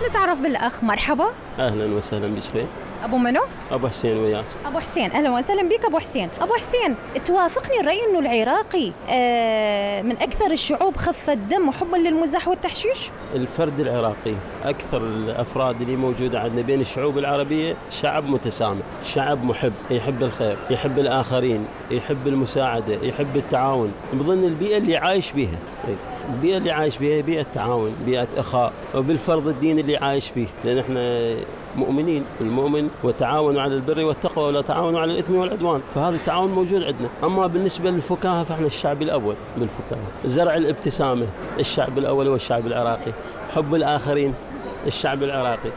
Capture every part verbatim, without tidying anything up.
نتعرف بالأخ. مرحبا. أهلا وسهلا بك. أبو منو؟ أبو حسين وياك. أبو حسين، أهلا وسهلا بك أبو حسين. أبو حسين، توافقني الرأي أنه العراقي آه من أكثر الشعوب خفة دم وحبا للمزاح والتحشيش؟ الفرد العراقي أكثر الأفراد اللي موجودة عندنا بين الشعوب العربية شعب متسامح، شعب محب، يحب الخير، يحب الآخرين، يحب المساعدة، يحب التعاون، بظن البيئة اللي عايش بيها. البيئة اللي عايش بيها بيئة تعاون، بيئة أخاء، وبالفرض الدين اللي عايش به، لأن احنا مؤمنين. المؤمن وتعاونوا على البر والتقوى ولا تعاونوا على الإثم والعدوان، فهذا التعاون موجود عندنا. أما بالنسبة للفكاهة فاحنا الشعب الأول بالفكاهة. زرع الابتسامة الشعب الأول هو الشعب العراقي، حب الآخرين الشعب العراقي.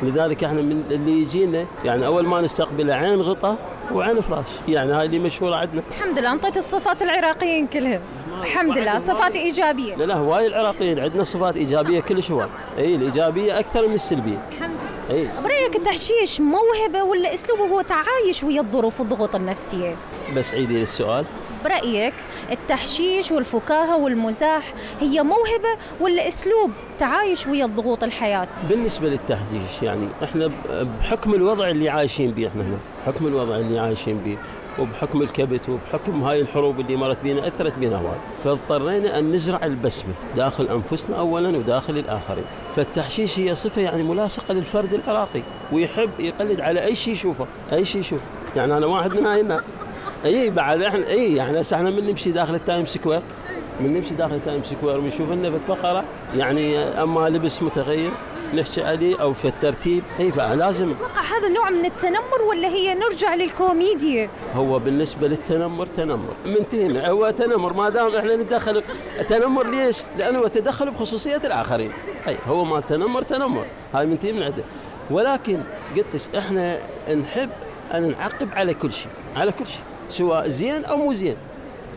لذلك احنا من اللي يجينا يعني أول ما نستقبله عين غطا وعين فراش، يعني هاي اللي مشهورة عندنا. الحمد لله انطيت الصفات العراقيين كلهم. الحمد لله صفات إيجابية. لا لا هواي العراقيين عندنا صفات إيجابية كلش هواي. اي الإيجابية أكثر من السلبية. الحمد لله. اي برأيك التحشيش موهبة ولا أسلوبه هو تعايش ويا الظروف والضغوط النفسية؟ بس عيدي السؤال. برأيك التحشيش والفكاهة والمزاح هي موهبة ولا أسلوب تعايش ويا الضغوط الحياة؟ بالنسبة للتحشيش يعني احنا بحكم الوضع اللي عايشين به، احنا هنا بحكم الوضع اللي عايشين به وبحكم الكبت وبحكم هاي الحروب اللي مرت بينا أثرت بينا هواي، فاضطرينا أن نزرع البسمة داخل أنفسنا أولا وداخل الآخرين. فالتحشيش هي صفة يعني ملاصقة للفرد العراقي، ويحب يقلد على أي شيء يشوفه، أي شيء يشوفه. يعني أنا واحد من هاي الناس. اي بعد احنا اي يعني هسه احنا من نمشي داخل التايم سكوير، من نمشي داخل التايم سكوير ونشوف لنا في الفقره يعني اما لبس متغير نحكي عليه او في الترتيب. اي فلازم. تتوقع هذا نوع من التنمر ولا هي نرجع للكوميديا؟ هو بالنسبه للتنمر تنمر منتهي، هو تنمر ما دام احنا نتدخل. تنمر ليش؟ لانه هو تدخل بخصوصيه الاخرين. اي هو ما تنمر تنمر، هاي منتهي من عنده. ولكن قلت احنا نحب ان نعقب على كل شيء، على كل شيء سواء زين أو مو زين.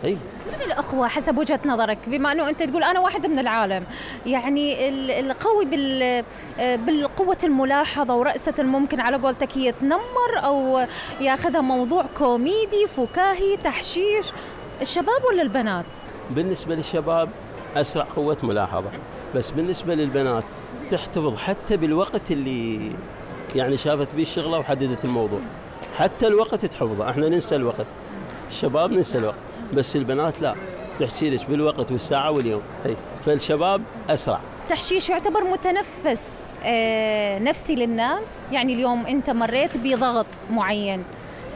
أي من الأخوة حسب وجهة نظرك، بما أنه أنت تقول أنا واحد من العالم، يعني القوي بال بالقوة الملاحظة ورأسة الممكن على قولتك هي تنمر أو ياخذها موضوع كوميدي فكاهي تحشيش، الشباب ولا البنات؟ بالنسبة للشباب أسرع قوة ملاحظة، بس بالنسبة للبنات تحتفظ حتى بالوقت اللي يعني شافت به الشغلة وحددت الموضوع، حتى الوقت تحفظه. احنا ننسى الوقت، الشباب ننسى الوقت، بس البنات لا، تحكي لك بالوقت والساعة واليوم. هي فالشباب أسرع. تحشيش يعتبر متنفس آه نفسي للناس، يعني اليوم أنت مريت بضغط معين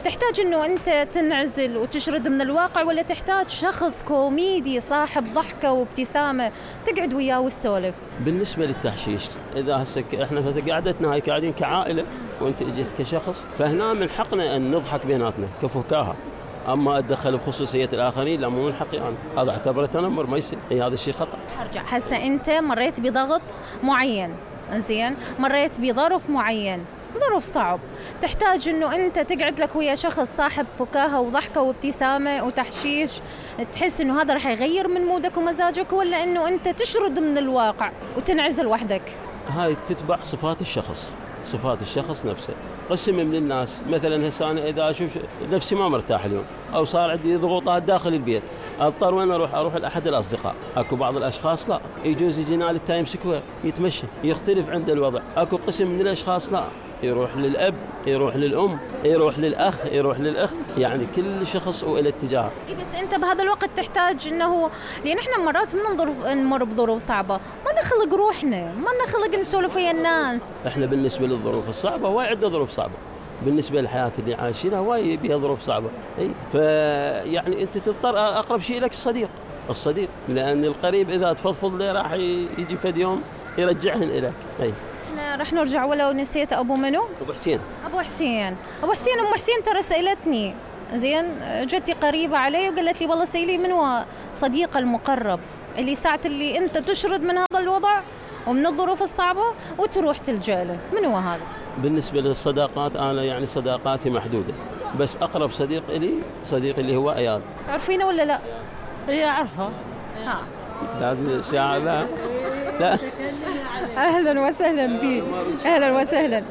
تحتاج أنه أنت تنعزل وتشرد من الواقع، ولا تحتاج شخص كوميدي صاحب ضحكة وابتسامة تقعد وياه والسولف؟ بالنسبة للتحشيش إذا هسه إحنا قعدتنا هاي قاعدين كعائلة وأنت إجيت كشخص، فهنا من حقنا أن نضحك بيناتنا كفكاهة. أما أتدخل بخصوصية الآخرين لا، مو من حقي أنا، هذا اعتبره تنمر ما يصير. هي هذا الشيء خطأ. هرجع هسه أنت مريت بضغط معين، زين، مريت بظرف معين، ظروف صعب، تحتاج انه انت تقعد لك ويا شخص صاحب فكاهة وضحكة وابتسامة وتحشيش، تحس انه هذا رح يغير من مودك ومزاجك، ولا انه انت تشرد من الواقع وتنعزل وحدك؟ هاي تتبع صفات الشخص، صفات الشخص نفسه. قسم من الناس مثلا هسه انا اذا اشوف نفسي ما مرتاح اليوم او صار عندي ضغوطات داخل البيت، اضطر وين اروح؟ اروح لاحد الاصدقاء. اكو بعض الاشخاص لا، يجوز يجينا للتايم سكوير يتمشى، يختلف عند الوضع. اكو قسم من الاشخاص لا، يروح للأب، يروح للأم، يروح للأخ، يروح للأخت، يعني كل شخص وإلى اتجاه. إيه بس أنت بهذا الوقت تحتاج إنه، لأن إحنا مرات من نظرف نمر بظروف صعبة، ما نخلق روحنا، ما نخلق نسولف ويا الناس. إحنا بالنسبة للظروف الصعبة هواي عندنا ظروف صعبة، بالنسبة للحياة اللي عايشينها هواي بيها ظروف صعبة. أي فيعني أنت تضطر أقرب شيء لك الصديق، الصديق، لأن القريب إذا تفضفض له راح يجي فد يوم يرجعهن إليك. أي احنا رح نرجع ولو نسيت. ابو منو؟ ابو حسين. ابو حسين ابو حسين ام حسين ترى سالتني، زين، جتي قريبه علي وقالت لي والله سيلي من هو صديقه المقرب اللي ساعه اللي انت تشرد من هذا الوضع ومن الظروف الصعبه وتروح تلجأ له، من هو هذا؟ بالنسبه للصداقات انا يعني صداقاتي محدوده، بس اقرب صديق لي صديق اللي هو اياد. تعرفينه ولا لا؟ هي عارفه. ها هذا الشاعر. لا اهلا وسهلا بك، اهلا وسهلا.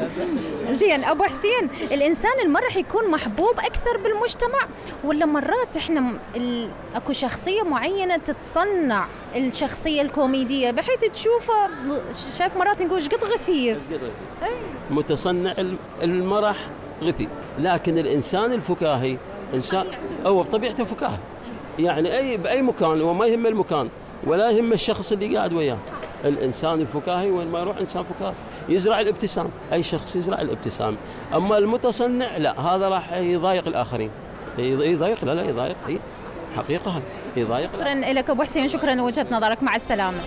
زين ابو حسين، الانسان اللي ما راح يكون محبوب اكثر بالمجتمع، ولا مرات احنا م- ال... اكو شخصيه معينه تتصنع الشخصيه الكوميديه بحيث تشوفه ش- شايف مرات نقول ايش قد غثير. متصنع الم- المرح غثي، لكن الإنسان الفكاهي إنسان هو بطبيعته فكاهي، يعني أي بأي مكان وما يهم المكان ولا يهم الشخص اللي قاعد وياه. الإنسان الفكاهي وين ما يروح إنسان فكاهي يزرع الابتسام، أي شخص يزرع الابتسام. أما المتصنع لا، هذا راح يضايق الآخرين، يضايق لا لا يضايق، هي حقيقة يضايق. شكرا لك ابو حسين، شكرا لوجهه نظرك، مع السلامه.